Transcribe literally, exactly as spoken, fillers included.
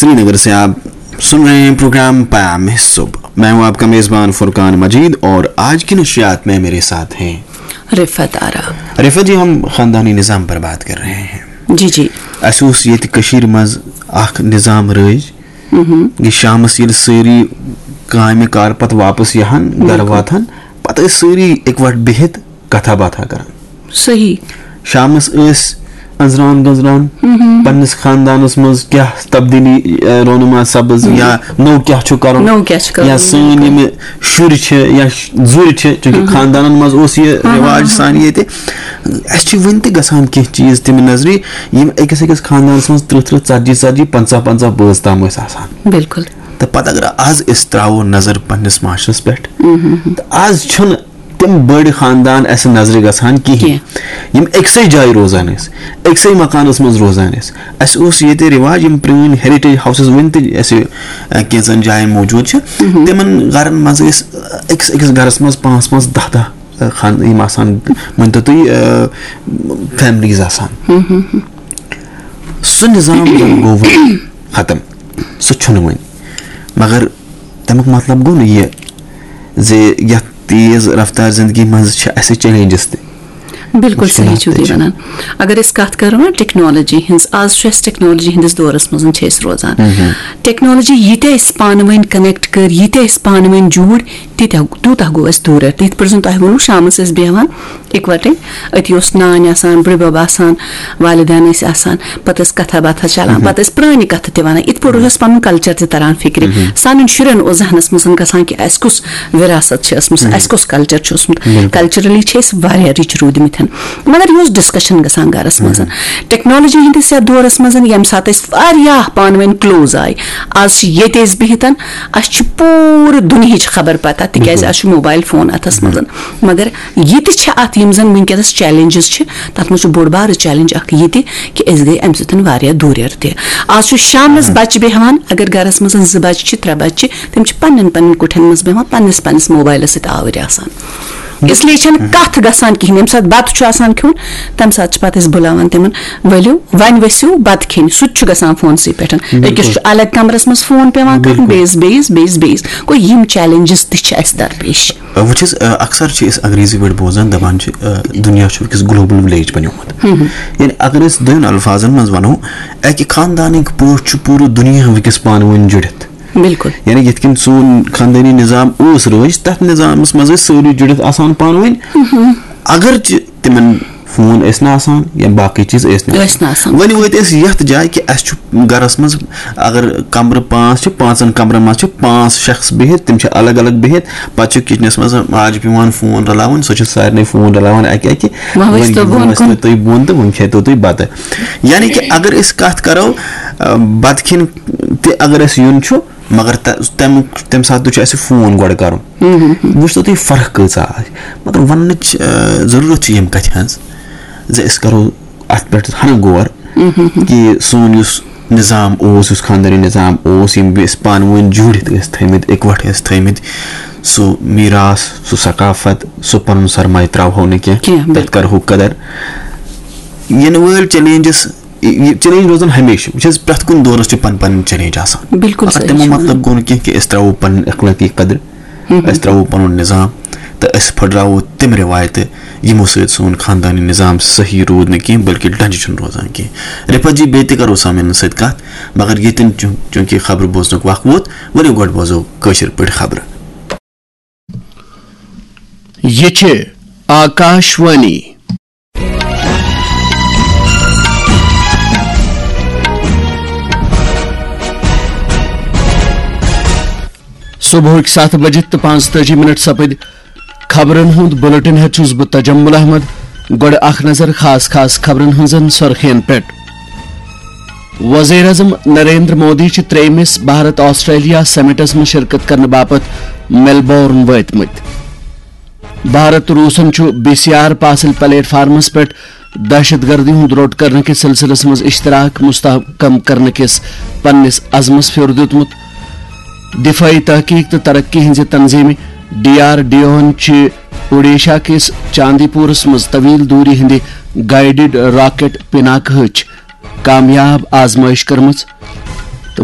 श्रीनगर से आप सुन रहे हैं प्रोग्राम पयाम सुबह। मैं हूं आपका मेजबान फुरकान मजीद और आज की नशियात में मेरे साथ हैं रिफत आरा। रिफत जी, हम खानदानी निज़ाम पर बात कर रहे हैं। جی جی۔ اَسہِ اوس ییٚتہِ کٔشیٖرِ منٛز اَکھ نِظام رٲیِج، یہِ شامَس ییٚلہِ سٲری کامہِ کار پَتہٕ واپَس یِہَن، گَرٕ واتہَن، پَتہٕ ٲسۍ سٲری اِکوَٹہٕ بِہِتھ کَتھا باتھا کَران۔ صحیح۔ شامَس ٲسۍ أنٛزران گٔنٛزران، پننِس خاندانَس منٛز کیٛاہ تبدیٖلی، اَ، رونما سبز یا نوٚو کیٛاہ چھُ کَرُن، نوٚو کیٛاہ چھُ کَرُن، یا سٲنۍ یِم شُرۍ چھِ یا ش-، زُرۍ چھِ، چوٗنٛکہِ خاندانَن منٛز اوس یہِ رِواج سانہِ ییٚتہِ۔ اَسہِ چھِ وٕنہِ تہِ گژھان کینٛہہ چیٖز تِم نظرِ، یِم أکِس أکِس خاندانَس منٛز تٕرٛہ تٕرٛہ، ژَتجی ژَتجی، پنٛژاہ پنٛژاہ بٲژ تام ٲسۍ آسان۔ بِلکُل۔ تہٕ پَتہٕ اگر آز أسۍ ترٛاوو نظر پننِس معاشرَس پٮ۪ٹھ، تہٕ آز چھُنہٕ تِم بٔڑۍ خاندان اَسہِ نظرِ گژھان کِہیٖنۍ، کینٛہہ۔ یِم أکسٕے جایہِ روزان ٲسۍ، أکسٕے مکانَس منٛز روزان ٲسۍ۔ اَسہِ اوس ییٚتہِ رِواج، یِم پرٛٲنۍ heritage houses وٕنہِ تہِ اَسہِ، اَ، کینٛژَن جایَن موٗجوٗد چھِ، تِمَن گَرَن منٛز ٲسۍ، اَ، أکِس أکِس گَرَس منٛز پانٛژھ پانٛژھ، دَہ دَہ، اَ، خان-، یِم آسان، مٲنۍ تو تُہۍ، اَ، families آسان۔ سُہ نِظام زَن گوٚو وۄنۍ ختم، سُہ چھُنہٕ وۄنۍ۔ مگر تَمیُک مطلب گوٚو نہٕ یہِ زِ یَتھ تیز رفتار زندگی منٛز چھِ اَسہِ challenges تہِ۔ بِلکُل صحیح مُشکِلات چھِو تہِ تُہۍ چھِ۔ وَنان۔ اگر أسۍ کَتھ کَرو نا ٹیکنالوجی ہٕنٛز، آز چھُ اَسہِ ٹیکنالوجی ہٕنٛدِس دورَس منٛز چھِ أسۍ روزان۔ ٹیکنالوجی ییٖتیٛاہ اَسہِ پانہٕ ؤنۍ کنیکٹ کٔر، ییٖتیٛاہ اَسہِ پانہٕ ؤنۍ جوٗڑ، تیٖتیٛاہ تیوٗتاہ گوٚو اَسہِ دوٗریر۔ تہٕ یِتھ پٲٹھۍ زَن تۄہہِ ووٚنوُ، شامَس ٲسۍ بیٚہوان اِکوَٹَے، أتی اوس نانۍ آسان، بٕڈبَب آسان، والدین ٲسۍ آسان، پَتہٕ ٲسۍ کَتھا باتھا چَلان، پَتہٕ ٲسۍ پرٛانہِ کَتھٕ تہِ وَنان۔ یِتھ پٲٹھۍ اوس اَسہِ پَنُن کَلچَر تہِ تَران فِکرِ۔ سانٮ۪ن شُرٮ۪ن اوس ذہنَس منٛز گژھان کہِ اَسہِ کُس وراثت چھِ ٲسمٕژ، اَسہِ کُس کَلچَر چھُ اوسمُت۔ کَلچَرٔلی چھِ أسۍ واریاہ رِچ روٗدمٕتۍ، مگر یہِ اوس ڈِسکشَن گژھان گَرَس منٛز۔ ٹیکنالوجی ہٕنٛدِس یَتھ دورَس منٛز، ییٚمہِ ساتہٕ أسۍ واریاہ پانہٕ ؤنۍ کٕلوز آے، آز چھِ ییٚتہِ أسۍ بِہِتھ، اَسہِ چھِ پوٗرٕ دُنیہِچ خبر پَتہ، تِکیٛازِ اَسہِ چھُ موبایِل فون اَتھَس منٛز۔ مگر یہِ تہِ چھِ اَتھ، یِم زَن وٕنکیٚنَس چیلنجز چھِ، تَتھ منٛز چھُ بوٚڑ بارٕ چیلنج اَکھ یہِ تہِ کہِ أسۍ گٔے اَمہِ سۭتۍ واریاہ دوٗریر تہِ۔ آز چھُ شامنَس بَچہِ بیٚہوان، اگر گَرَس منٛز زٕ بَچہِ چھِ، ترٛےٚ بَچہِ چھِ، تِم چھِ پَنٕنٮ۪ن پَنٕنٮ۪ن کُٹھٮ۪ن منٛز بیٚہوان، پَنٕنِس پَنٕنِس موبایلَس سۭتۍ آوٕرۍ آسان۔ اس لیے چھَنہٕ کَتھ گژھان کِہیٖنۍ۔ ییٚمہِ ساتہٕ بَتہٕ چھُ آسان کھیوٚن، تَمہِ ساتہٕ چھِ پَتہٕ أسۍ بُلاوان تِمَن، "ؤلِو، وۄنۍ ؤسِو بَتہٕ کھیٚنہِ۔" سُہ تہِ چھُ گژھان فونسٕے پٮ۪ٹھ۔ أکِس چھُ الگ کَمرَس منٛز فون پٮ۪وان کَرُن، بیٚیِس، بیٚیِس، بیٚیِس، بیٚیِس۔ گوٚو، یِم چیلنجز تہِ چھِ اَسہِ درپیش۔ وٕچھ حظ، اَ، اکثر چھِ أسۍ انگریزی پٲٹھۍ بوزان، دَپان چھِ، اَ، دُنیا چھُ وٕنکیٚس global village بنیومُت۔ یعنی اگر أسۍ دوٚن الفاظن منٛز وَنو، اَکہِ خاندانٕکۍ پٲٹھۍ چھُ پوٗرٕ دُنیا وٕنکیٚس پانہٕ ؤنۍ جُڑِتھ۔ بِلکُل۔ یعنی یِتھ کٔنۍ سون خاندٲنی نظام اوس رٲیِج، تَتھ نظامَس منٛز ٲسۍ سٲری جُڑِتھ آسان پانہٕ ؤنۍ۔ اگرچہِ تِمن فون ٲسۍ نہٕ آسان یا باقٕے چیٖز ٲسۍ نہٕ ٲسۍ نہٕ آسان۔ وۄنۍ وٲتۍ أسۍ یَتھ جایہِ کہِ اَسہِ چھُ گَرَس منٛز، اگر کَمرٕ پانٛژھ چھِ، پانٛژَن کَمرَن منٛز چھِ پانٛژھ شخص بِہِتھ، تِم چھِ الگ الگ بِہِتھ۔ پَتہٕ چھُ کِچنَس منٛز ماجہِ پٮ۪وان فون رَلاوُن، سۄ چھِ سارنٕے فون رَلاوان اَکہِ اَکہِ۔ وۄنۍ وۄنۍ ؤسۍ تو یِم بۄن ٲسۍ کُن۔ نہٕ تُہۍ بۄن تہٕ وۄنۍ کھیٚتو تُہۍ بَتہٕ۔ یعنی کہِ اگر أسۍ کَتھ کَرو، آ، بَتہٕ کھیٚنہِ تہِ اگر اَسہِ یُن چھُ، مگر تَ-، تَمہِ، تَمہِ ساتہٕ تہِ چھُ اَسہِ فون گۄڈٕ کَرُن۔ وٕچھتو تُہۍ فرق کۭژاہ آسہِ۔ مگر وَننٕچ، آ، ضروٗرت چھِ ییٚمہِ کَتھِ ہٕنٛز زِ أسۍ کَرو اَتھ پٮ۪ٹھ ہَنہٕ غور کہِ سون یُس نظام اوس، یُس خاندٲنی نظام اوس، یِم بیٚیہِ أسۍ پانہٕ ؤنۍ جوٗڑِتھ ٲسۍ تھٲومٕتۍ، اِکوَٹہٕ ٲسۍ تھٲومٕتۍ، سُہ میٖراث، سُہ ثقافت، سُہ پَنُن سرمایہِ ترٛاوہو نہٕ کینٛہہ، کینٛہہ، تَتھ کَرہو قدر۔ یِنہٕ وٲلۍ چیلنجز، یہِ چیلنج روزان ہمیشہِ۔ وٕچھ حظ، پرٛٮ۪تھ کُنہِ دورَس چھِ پَنٕنۍ پَنٕنۍ چیلنج آسان۔ بِلکُل مگر صحیح تَمیُک چھُ مطلب گوٚو نہٕ کینٛہہ کہِ أسۍ ترٛاوو پَنٕنۍ اخلٲقی قدر، أسۍ ترٛاوو پَنُن نظام تہٕ أسۍ پھٕٹراوو تِم رِوایتہٕ، یِمو سۭتۍ سون خاندٲنی نظام صحیح روٗد نہٕ کینٛہہ، بلکہِ ڈنٛجہِ چھُنہٕ روزان کینٛہہ۔ رِفت جی، بیٚیہِ تہِ کَرو سامعیٖنَن سۭتۍ کَتھ، مگر ییٚتٮ۪ن چوٗ-، چوٗنٛکہِ خبرٕ بوزنُک وق ووت، ؤلِو گۄڈٕ بوزو کٲشِر پٲٹھۍ خبرٕ۔ یہِ چھِ آکاش وانی۔ صبحٕکۍ ستھ بجہِ تہٕ پانٛژتٲجی منٹ سپٕدۍ۔ خبرن ہُنٛد بلیٹن ہیٚتھ چھُس بہٕ تجمل احمد۔ گۄڈٕ اکھ نظر خاص خاص خبرن ہٕنٛزن سرخین پٮ۪ٹھ۔ وزیر اعظم نریندر مودی چھِ ترٛیٚیمِس بھارت آسٹریلیا سمٹس منٛز شرکت کرنہٕ باپتھ میلبورن وٲتمٕتۍ۔ بھارت تہٕ روٗسن چھُ بی سی آر پاسل پلیٹ فارمس پٮ۪ٹھ دہشت گردی ہُنٛد روٚٹ کرنہٕ کِس سلسلس منٛز اشتراک مستحکم کرنہٕ کِس پننِس عزمس پھیُر دیُتمُت۔ دفٲعی تحقیق تہٕ ترقی ہٕنٛزِ تنظیمہِ ڈی آر ڈی اوہن چھِ اوڈیشا کِس چاندی پورس منٛز طویل دوری ہٕنٛدِ گائیڈڈ راکٹ پِناک ہٕچ کامیاب آزمٲیش کٔرمٕژ۔